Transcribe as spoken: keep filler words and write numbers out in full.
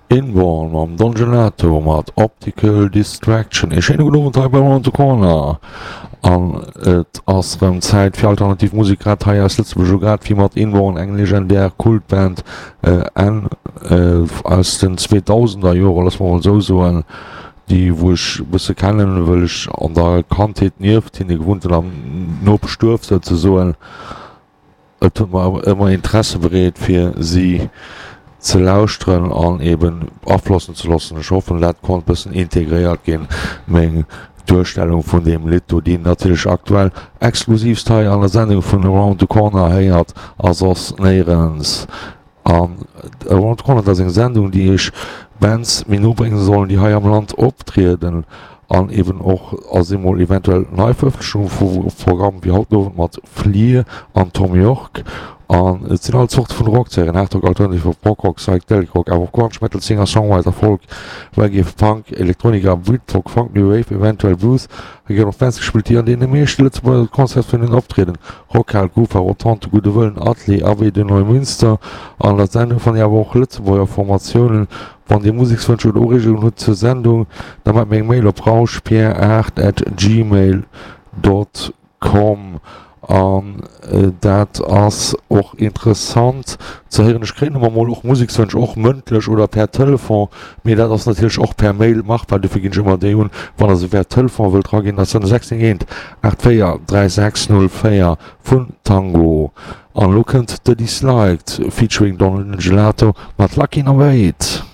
Inborn mam Don Gelato mat Optical Distraction. Ee schéine gudden Owend hei bei Around the Corner. An et ass rëm Zäit fir alternativ Musek, grad hei aus Lëtzebuerg, esou grad wéi mat Inborn, eng legendär Kultband Enn aus den zweedausender Joren, loosse mer mol esou soen, déi wou ech e bësse kennen, wëll ech an der Kandheet nieft hinne gewunnt hunn, am Nopeschduerf souzesoen. Et huet mer ëmmer Interesse bereet fir si ze lauschteren an eben aflossen ze loossen. Ech hoffen dat konnt bëssen integréiert ginn, meng Duerstellung vun deem Lidd do, déi natierlech aktuell exklusivst hei an der Sendung vun Around the Corner héiert a soss néierens. An Around the Corner, dat ass eng Sendung déi iech Bands méi no brénge sollen, déi hei am Land optrieden an eben och ass emol eventuell Neiverëffentlechung vu Programm wéi haut den Owend mat Fleer an Thom Yorke. An et sinn all Zorte vun Rock ze héieren, Hardrock, Alternative Rock, Prog-Rock, Psychedelic Rock, awer och Grunge, Metal, Singer, Songwriter, Folk, Reggae, Punk, Elektronika, Britpop, Funk, New Wave, eventuell Blues. Hei ginn och Bands gespillt, déi an deene meeschte Lëtzebuerger Concertsvenueën optrieden, Rockhal, Kufa, Rotonde, Gudde Wëllen, Atelier, Abbaye de Neumünster. An der Sendung fannt Dir awer och Lëtzebuerger Formatiounen. Wann Dir Musekswënsch oder Ureegungen hutt zur Sendung, da maacht mir eng Mail op rauschpierre aacht at gmail dot com. An dat ass och interessant ze héieren. Ech kréien ëmmer mol och Musekswënsch, och mëndlech oder per Telefon, mee dat ass natierlech och per Mail machbar. Dofir ginn ech ëmmer déi un, wann Der se per Telefon wëllt raginn. Dat ass dann sechs néng eent aacht véier dräi sechs null véier vun Tango. An elo kënnt The Disliked featuring Don Gelato mat Lucky Number Eight.